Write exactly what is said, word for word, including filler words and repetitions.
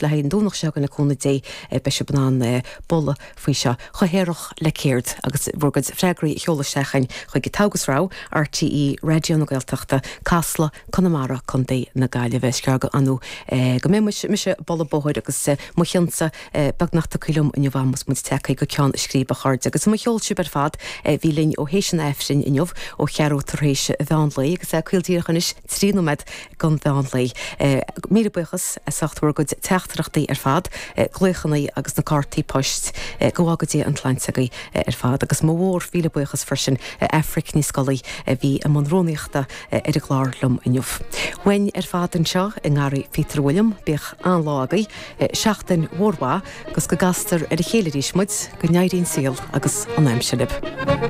Le haghaidh an Domhnach seo le cúnamh Dé beidh sibh in ann bualadh faoi seo chomh haerach le céard agus bhur gcuid freagraí a sheoladh isteach chuig Togha 's Rogha RTÉ Raidió na Gaeltachta Casla Conamara Contae na Gaillimhe sceaga anú go mé mise bolla bóthair agus mo chionsa beagnach tagtha liom inniu agus muid tagtha go ceann scríbe a chairde agus mo cheol sibh ar fad bhí linn ó théis an Aifrinn inniu ó cheathrú tar éis mheán lae agus é caol díreach anois trí nóiméad don mheán lae. Míle buíochas as ucht bhur gcuid teachtaireachtaí ar fad, glaochanna agus na cártaí poist go bhfága Dia an tsláinte agaibh ar fad agus mo mhór mhíle buíochas freisin Aifric Ní Scolaí a bhí i mbun rúnaíochta ar an gclár liom inniu. Uainn ar fad anseo i nGarraí Peter William bíodh an-lá agaibh, seachtain mhór mhaith agus go gcastar ar a chéile arís muid go n-éirí an saol agus an aimsir libh.